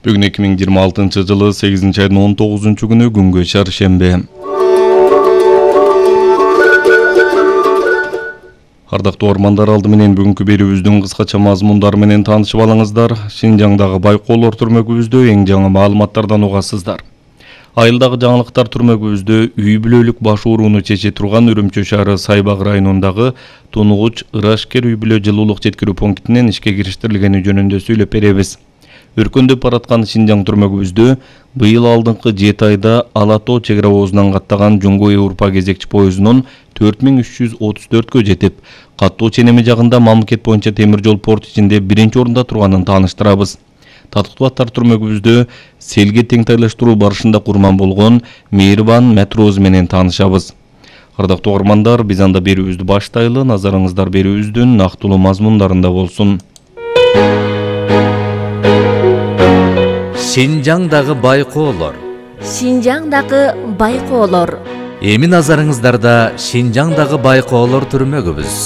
Бүгүн 2026-жылы 8-айдын 19-күнү күнгө чаршембе. Ардактуу ормандар, алды менен бүгүнкү берүүбүздүн кыскача мазмундары менен таанышып алыңыздар. Шинжаңдагы байкоолор түрмөгүбүздө эң жаңы маалыматтардан угасыздар. Айылдагы жаңылыктар түрмөгүбүздө үй бүлөлүк баш ооруну чече турган Үрүмчү шаары Сайбак районундагы Тунугуч Ырашкер үй бүлө жылуулук жеткирүү пунктинен ишке кириштирилгени жөнүндө сүйлөп беребиз. Өркөндөп бараткан Шинжаң түрмөгүбүздө быйыл алдыңкы 7 айда Ала Тоо чек ара оозунан каттаган Жуңго Европа кезекчи поездунун 4334кө жетип, каттоо ченеми жагында мамлекет боюнча темир жол порт ичинде биринчи орунда турганын тааныштырабыз. Татыктуулар түрмөгүбүздө селге теңтайлаштыруу барышында курман болгон Мейирбан Мәтрооз менен таанышабыз. Ардактуу угармандар, биз анда берүүбүздү баштайлы, назарыңыздар берүүбүздүн нактылуу мазмундарында болсун. Шинжаңдагы байкоолор. Шинжаңдагы байкоолор. Эми назарыңыздарда Шинжаңдагы байкоолор түрмөгүбүз.